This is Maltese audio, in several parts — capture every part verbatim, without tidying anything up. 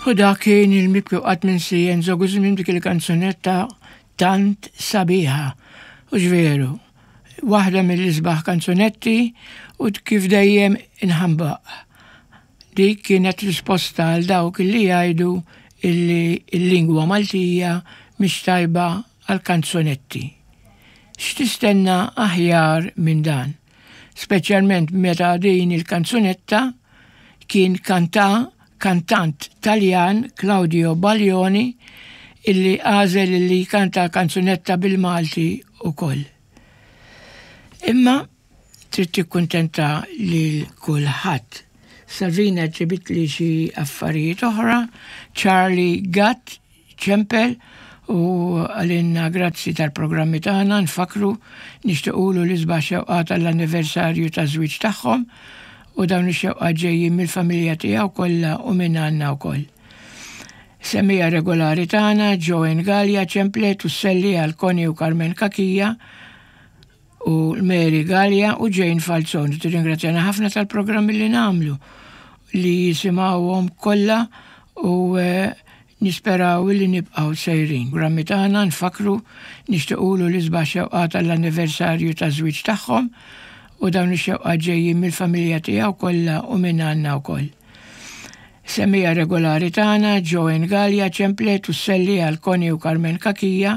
U dak kien il-mibki u qatt minsi Enzo Guzmin, dik il-kanzunetta tant sabiħa. U veru, waħda mill-isbaħ kanzunetti u kif dejjem inħambaq. Dik kienet risposta għal dawk li jgħidu illi il-lingwa Maltija mhix tajba għal kanzunetti. X'tistenna aħjar minn dan? Speċjalment meta din il-kanzunetta kien kanta kantant Taljan, Claudio Baglioni, illi għażel illi kanta kanzunetta bil-Malti ukoll. Imma trid tikkuntenta lil kulħadd. Salvina ġibitli xi affarijiet oħra, Charlie Gatt ċempel u qalilna grazzi tal-programmi tagħna. Nfakru, nixtiequlu l-isbaħ xewqat tal-anniversarju ta' żwieġ tagħhom u dawn ix-xewqat ġejjin mill-familja tiegħu kollha u minn għandna wkoll. Semmiegħa regolari tagħna Joanne Gallia ċemplet u sselli għal Connie u Carmen Kakija u Mary Gallia u Jane Falzon. Tirringrazzjana ħafna tal-programmi li nagħmlu, li jisimgħuhom kollha u eh, nisperaw li nibqgħu sejrin. Programmi tagħna, nfakru, nixtiequlu l-isbaħ xewqat tal-anniversarju ta' żwieġ tagħhom u dawn ix-xewqat ġejjin mill-familja tiegħu kollha u minn għandna wkoll. Semmiegħa regolari tagħna Joanne Gallia ċemplet u sselli għal Connie u Carmen Kakija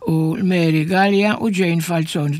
u Mary Gallia u Jane Falzon.